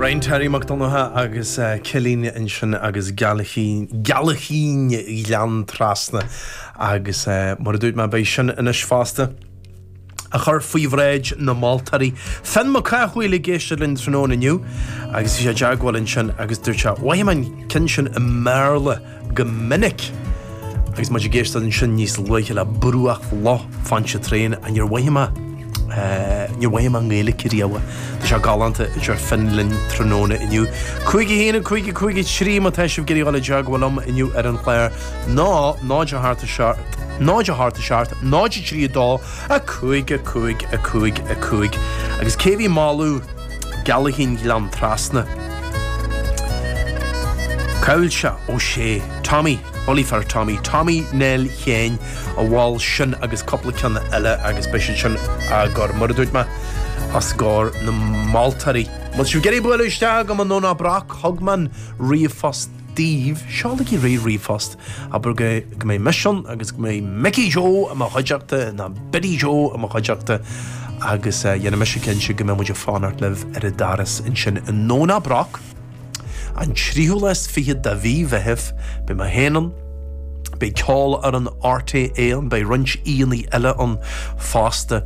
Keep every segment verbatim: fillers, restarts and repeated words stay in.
Brian Terry Mac Donncha agus Cillín ansin agus Gealaichín Gealaichín Ghleann Trasna agus mar a dúirt mé beidh sin anois fosta a chur faoi bhráid na moltóirí. Finn Mac Cathmhaoil ag éisteacht linn tráthnóna inniu agus bhí sé i dteagmháil ansin agus dúirt sé mhothaigh mé an ceann sin i mBéarla go minic. Agus muid ag éisteacht ansin níos luaithe le Bruach Loch Pontchartrain a níor mhothaigh mé níor mhothaigh mé i nGaeilge riamh. Tá sé galánta a deir Finn linn tráthnóna inniu. Cúig a haon a cúig a cúig a trí má tá sibh ag iarraidh dul i dteagmháil liom inniu ar an chlár ná náid a hocht a seacht náid a hocht a seacht náid a trí a dó a cúig a cúig a cúig a cúig. Agus cé bhí ag moladh Gealaichín Ghleann Trasna? Cá bhfuil sé Ó sé Tommy Bully for Tommy Tommy Nell Chéin a mhol sin agus cúpla ceann eile agus beidh siad sin á gcur mar a dúirt mé os comhair na moltóirí. Má tá sibh ag iarraidh bualadh isteach go nDomhnach Broc thug mé an ríomhphost daoibh seolaigí ríomhphost abair go go mbeidh mise ann agus go mbeidh Mickey Joe i mo chuideachta ná Biddy Joe i mo chuideachta agus uh, dhéanfaidh mise cinnte go mbeidh muid ag fanacht libh ar an doras ansin i nDomhnach Broc. An tríú lá is fiche de mhí Mheithimh beidh mé féin ann, Beidh ceol ar an RTÉ ann, beidh roinnt aíonna eile ann fosta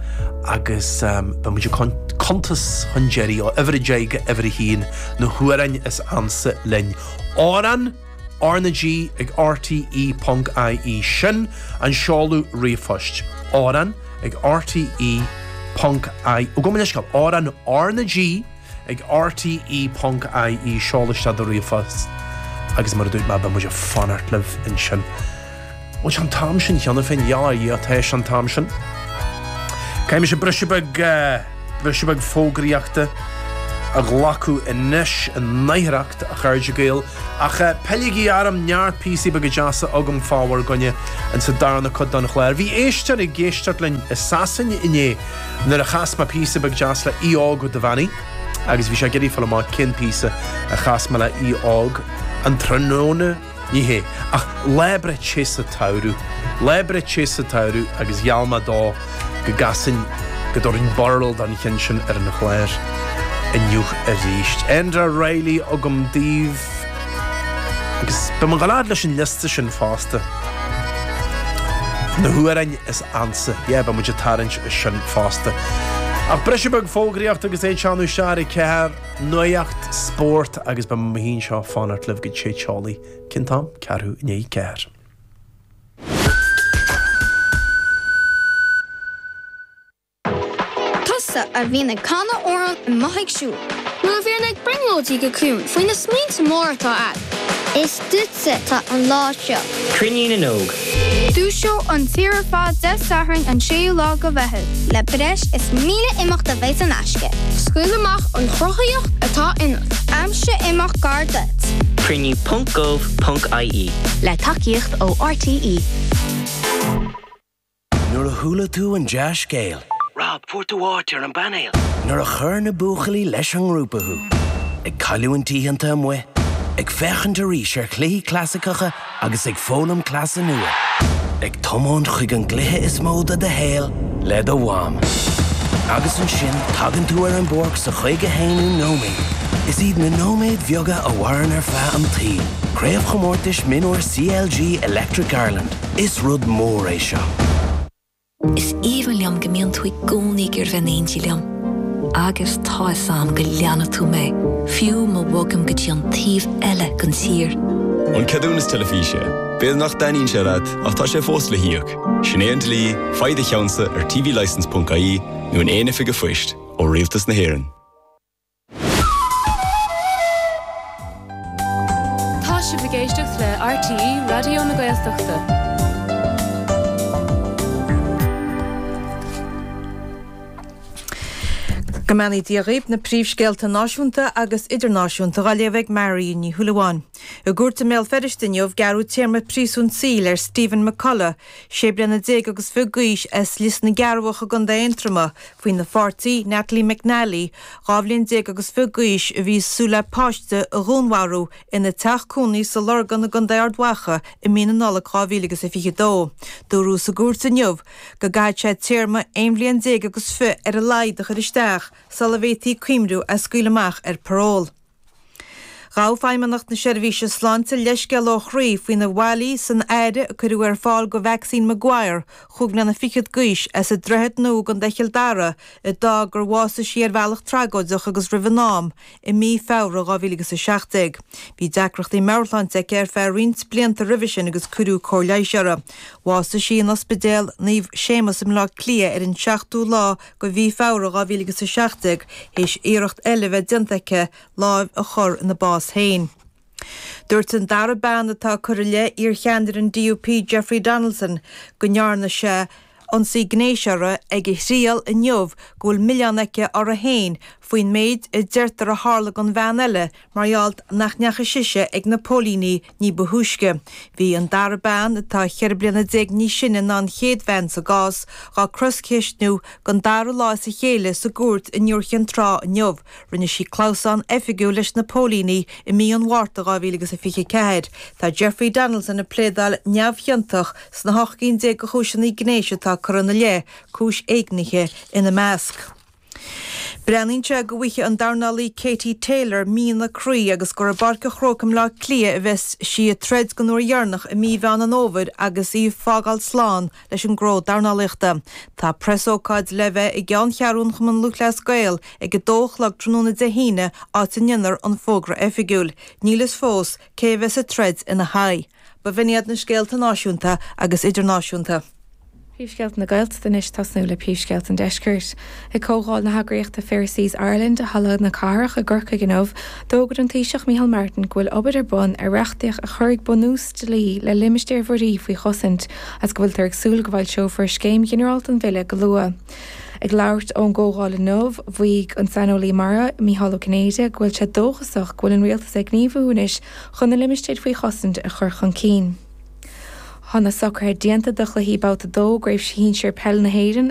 agus um, beidh muid ag cuntas chun deiridh ó uimhir a deich go uimhir a haon na hamhráin is ansa linn. Amhrán RnaG ag RTE.ie sin an seoladh ríomhphoist. Amhrán ag RTE.ie Ó go leis amhrán RnaG ag RTE.ie seol isteach do ríomhphost agus mar a dúirt mé beidh muid ag fanacht libh ansin. Bhfuil sé an t-am sin cheana féin yeah tá sé an t-am sin. Caithfidh mise briseadh beag briseadh beag fógraíochta a ghlacadh anois i ndáiríreacht a chairde Gael ach pilligí orm neart píosaí beaga deasa agam fá bhur gcoinne in sa darna cuid den chlár. Bhí éisteoir ag éisteacht linn i Sasain inné nuair a chas mé píosa beag deas le Aodh Óg Ó Duibheannaigh agus bhí sé ag iarraidh fáil amach cén píosa a chas mé le Aodh Óg an tráthnóna ní hé ach lá breite sa tsamhradh lá breite sa tsamhradh agus gheall mé dó go gcasfainn go dtabharfainn barúil don cheann sin ar an chlár inniu arís. Enda Reilly agam daoibh agus beidh mé ag leis an liosta sin fosta. Na hamhráin is ansa, yeah, beidh muid ag tarraingt sin fosta. Ach briseadh beag fógraíocht agus é teannadh seach ceathair nuacht spórt agus beidh mé anseo ag fanacht libh go sé teolaí cén t-am ceathrú i ndiaidh ceathair. Tusa a bhíonn ag canadh amhrán amuigh ag siúl. Nó a bhíonn ag brionglóidí go ciúin faoi na smaointe móra atá agat. Is duitse atá an lá seo. Cruinniú na nÓg. Dúiseoidh an tír ar fad Dé Sathairn an séú lá de Mheitheamh. Le breis is míle imeacht a bheidh in aisce. Scaoil amach an chruthaíocht atá ionat. Aimsigh imeacht gar duit. Cruinniú.gov.ie Le tacaíocht ó RTE. Nuair a chuala tú an dea-scéal. Rob, fuair tú áit ar an bpainéal. Nuair a chuir na buachaillí leis an ngrúpa thú. Ag cailliúint oícheanta amuigh, ag féachaint arís ar chluichí clasaiceacha agus ag foghlaim cleasa nua. Ag tiomáint chuig an gcluiche is mó de do shaol le do mham. Agus ansin tagann tú ar an bpáirc sa chaoga haonú nóiméad. Is iad na nóiméid bheaga a mhaireann ar feadh an tsaoil. Craobhchomórtais Mionúir CLG Electric Ireland. Is rud mór é seo. Is aoibhinn liom go mbíonn tú i gcónaí ag iarraidh bheith in éindí liom. Agus tá a fhios agam go leanfaidh tú mé, fiú má bhogaim go dtí an taobh eile den tír. An ceadúnas teilifíse, B'fhéidir nach dtaitníonn sé leat ach tá sé fós le híoc. Sin é an dlí, faigh do cheannsa ar tvlicence.ie nó in aon oifig phoist ó Rialtas na hÉireann. Tá sibh ag éisteacht le RTÉ Raidió na Gaeltachta. Go mbeannaí Dia dhaoibh na príomhscéalta náisiúnta agus idirnáisiúnta á léamh ag Mary Ní Shúilleabháin. I gcúirt i mBéal Feirste inniu gearradh téarma príosúin saoil ar Stephen McCullough, sé bliana déag agus fiche d'aois as Lios na gCearrbhach i gContae Aontroma, faoina pháirtí Natalie McNally, dhá bhliain déag agus fiche d'aois a bhí ag súil le páiste a dhúnmharú ina teach cónaí sa Lorgan i gContae Ard Mhacha i mí na Nollag dhá mhíle agus a fiche dó. Dúradh sa gcúirt inniu go gcaithfidh sé téarma aon bhliain déag agus fiche ar a laghad a chur isteach sula bhféadfaí cuimhniú é a scaoileadh amach ar paról. Ghabh Feidhmeannacht na Seirbhíse Sláinte leithscéal ó chroí faoi na bhfaillí san aire a cuireadh ar fáil do Mhaxine Maguire, chúig bliana fichead d'aois, as an Droichead Nua i gContae Chill Dara, a d'fhág gur bhásaigh sí ar bhealach tragóideach agus roimh an am i mí Feabhra dhá mhíle agus a seacht déag. Bhí deacrachtaí meabhairshláinte aici ar feadh roinnt blianta roimhe sin agus cuireadh cóir leighis uirthi. Bhásaigh sí in Ospidéal Naomh Séamus i mBleá Cliath ar an seachtú lá de mhí Feabhra dhá mhíle agus a seacht déag théis iarracht eile a bheith déanta aici lámh a chur ina bás féin. Dúirt an dara bean atá curtha i leith iarcheannaire an D U P Jeffrey Donaldson go ndearna sé ionsaí gnéis uirthi ag a thriail inniu go bhfuil milleán aici uirthi féin faoin méid a deirtear a tharla don bhean eile mar gheall nach ndeachaigh sise ag na póilíní ní ba thúisce. Bhí an dara bean, atá ceithre bliana déag níos sine ná an chéad bhean sa gcás, á croscheistiú don dara lá as a chéile sa gcúirt in Iúr Chinn Trá inniu. Rinne sí clamhsán oifigiúil leis na póilíní i mí an Mhárta dhá mhíle agus a fiche ceathair. Tá Jeffrey Donaldson ag pléadáil neamhchiontach sna hocht gcinn déag de chúiseanna gnéis atá curtha ina leith, cúis éignithe ina measc. Breathnaíonn sé go bhfaighidh an dornálaí Katie Taylor mian a croí agus gur i bPáirc an Chrócaigh i mBleá Cliath a bheas sí ag troid den uair dheireanach i mí Mheán an Fhómhair agus í ag fágáil slán leis an gcró dornálaíochta. Tá preasócáid le bheith i gceanncheathrú an Chumann Lúthchleas Gael ag a dó a chlog tráthnóna Dé hAoine, áit a ndéanfar an fógra oifigiúil. Níl fhios fós cé a bheas ag troid ina haghaidh. Ba bh'in iad na scéalta náisiúnta agus idirnáisiúnta. Príomhscéalta na Gaeltachta anois, tosnú le príomhscéalta an Deiscirt. Ag comhdháil na heagraíochta Fair Seas Ireland i Halla na Cathrach i gCorcaigh inniu, d'fhógair an Taoiseach Micheál Martin go bhfuil obair ar bun ar reachtaíocht a chuirfidh bunús dlí le limistéir mhuirí faoi chosaint agus go bhfuiltear ag súil go bhfoilseofar scéim ghinearálta an bhille go luath. Ag labhairt ón gcomhdháil inniu, mhaígh an saineolaí mara Mícheál Ó Cinnéide go bhfuil sé dóchasach go bhfuil an rialtas ag gníomhú anois chun na limistéir faoi chosaint a chur chun cinn. Tá na socruithe déanta do chluichí babhta dó gCraobh Shinsir Peil na hÉireann.